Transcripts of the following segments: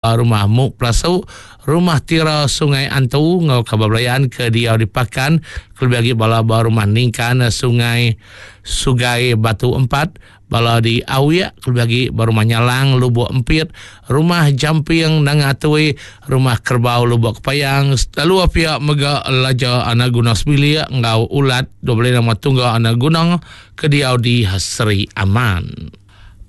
Rumah Muk Pelasu, Rumah Tira Sungai Antu enggau kaban belayan ke diau di Pakan kelebih agi bala ba Rumah Ningkan Sungai Sugai Batu Empat, bala di Awik kelebih agi ba Rumah Nyalang Lubok Empit, Rumah Jamping Nanga Atui, Rumah Kerbau Lubok Kepayang, lalu pia mega Laja Anak Guna Sebilik enggau Ulat 25 nama Tungga Anak Guna ke diau di Seri Aman.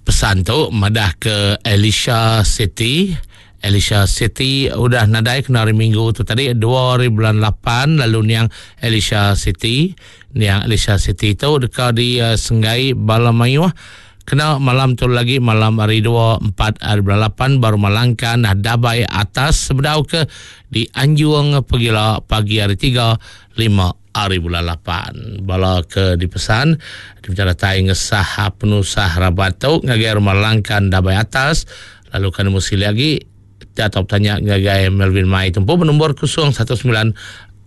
Pesan tu madah ke Elisha Siti. Elisha Siti udah nadai kena hari Minggu tu tadi dua hari bulan lapan lalu niang Elisha Siti. Niang Elisha Siti tu deka disenggai bala mayuh kena malam tu lagi malam hari dua empat hari bulan lapan ba Rumah Langkan Dabai Atas sebedau ke dianjung pegila pagi hari tiga lima Ari bulan lapan, bala ke dipesan dipinta datai ngesah penusah rabat tu ngagai Rumah Langkan Dabai Atas lalu ke nemu silik agi ti atau betanya ngagai Melvin Mai tu empu benumbur 019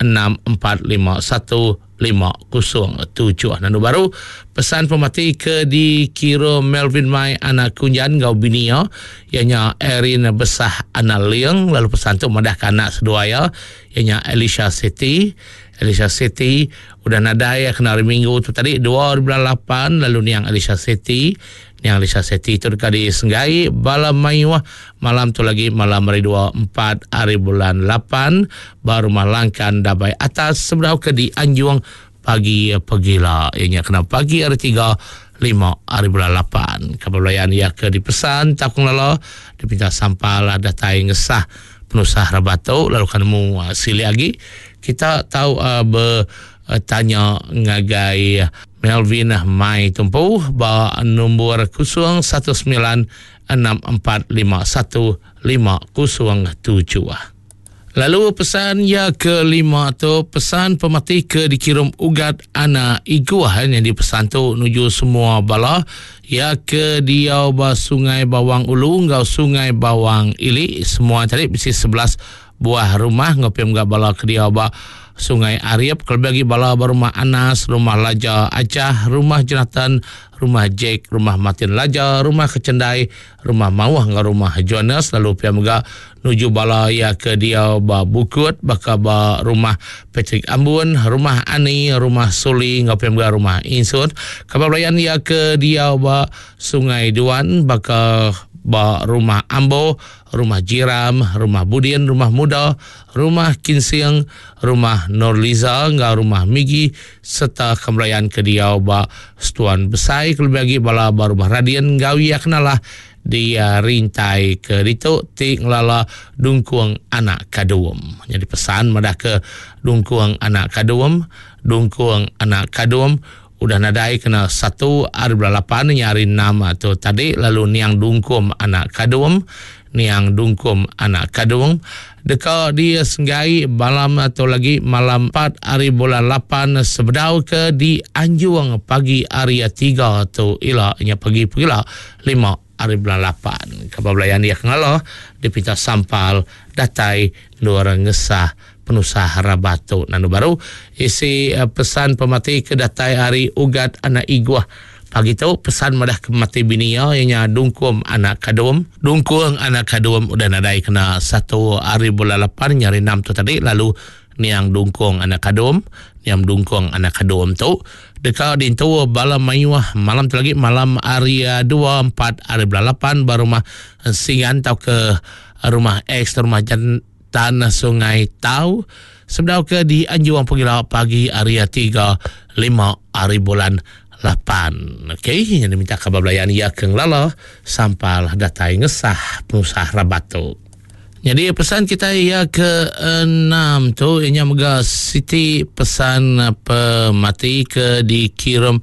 6451 507. Nandu baru pesan pemati ke dikira Melvin Mai anak Kunjan enggau bini iya iya nya Erin Besah anak Ling lalu pesan tu madahka anak seduai iya iya nya Elisha Siti. Elisha Siti udah nadai kena hari Minggu tu tadi dua hari bulan lapan lalu niang Elisha Siti. Niang Elisha Siti tu deka disenggai bala mayuh malam tu lagi malam hari dua empat hari bulan lapan ba Rumah Langkan Dabai Atas sebedau ke dianjung pagi pegila iya nya kena pagi hari tiga lima hari bulan lapan. Kaban belayan iya ke dipesan tauka ngelala dipinta sampal datai ngesah penusah rabat tu lalu ka nemu silik agi kita tau betanya ngagai Melvin Mai Tumpu ba nombor 019 645 1507. Lalu pesan iya ke lima tu pesan pemati ke dikirum Ugat Ana Iguh nyadi pesan tu nuju semua bala iya ke diau ba Sungai Bawang Ulu enggau Sungai Bawang Ili semua tadi bisi 11 buah rumah enggau pia mega bala ke diau ba Sungai Arip kelebih agi bala ba Rumah Anas, Rumah Laja Achah, Rumah Jonathan, Rumah Jack, Rumah Martin Laja, Rumah Kechendai, Rumah Mauh enggau Rumah Johannes lalu pia mega nuju bala iya ke diau ba Bukut baka ba Rumah Patrick Ambun, Rumah Ani, Rumah Suli enggau pia mega Rumah Insut. Kaban belayan iya ke diau ba Sungai Duan baka ba Rumah Ambo, Rumah Jiram, Rumah Budin, Rumah Muda, Rumah Kinsing, Rumah Norliza enggau Rumah Migi sereta kemelayan ke diau ba Setuan Besai kelebih agi bala ba Rumah Radin enggau iya kenalah di rintai ke ditu ti ngelala Dungkung Anak Kadum. Nyadi pesan madah ke Dungkung Anak Kadum, Dungkung Anak Kadum udah nadai kena satu ari bulan lapan nya hari enam tu tadi lalu niang Dungkum Anak Kadum niang Dungkum Anak Kadung deka disenggai malam tu lagi malam empat ari bulan lapan sebedau ke dianjung pagi hari tiga tu ila nya pagi pegila lima ari bulan lapan. Kaban belayan iya ke ngalah dipinta sampal datai endur ngesah penusah rabat tu. Nandu baru isi pesan pemati ke datai ari Ugat anak Iguh pagi tu pesan madah ke pemati bini iya iya nya Dungkum anak Kadum. Dungkung anak Kadum udah nadai kena satu ari bulan lapan nya hari enam tu tadi lalu niang Dungkung anak Kadum niang Dungkung anak Kadum tu deka dintu bala mayuh malam tu lagi malam hari dua empat ari bulan lapan ba rumah Singan tauka rumah X rumah Jan Tan Sungai Tau sebedau ke dianjung pegila pagi hari tiga lima hari bulan lapan. Okey, yang diminta kabar belayan iya ke ngelala sampal datai ngesah penusah rabat tu. Jadi pesan kita iya ke enam tu ianya mega siti pesan pemati ke dikirim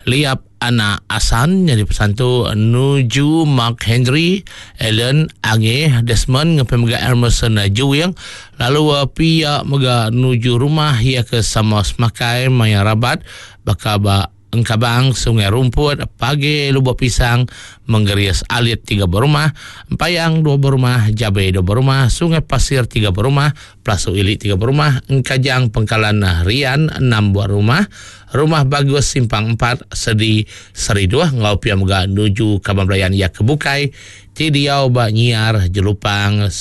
Liap Anak Asan nyadi pesan tu nuju Mark Henry, Allen, Ange, Desmond ngepai mega Emerson Juing lalu pia mega nuju rumah iya ke sama semakai maya rabat baka ba Engkabang, Sungai Rumput, Page, Lubok Pisang, Menggeris Alit tiga berumah, Empayang dua berumah, Jabe dua berumah, Sungai Pasir tiga berumah, Pelasu Ili tiga berumah, Engkajang Pengkalan Rian enam buah rumah, Rumah Bagus Simpang empat, Sedi Seriduh enggau pia mega nuju kaban belayan iya ke bukai. ti diau ba Nyiar Jelupang.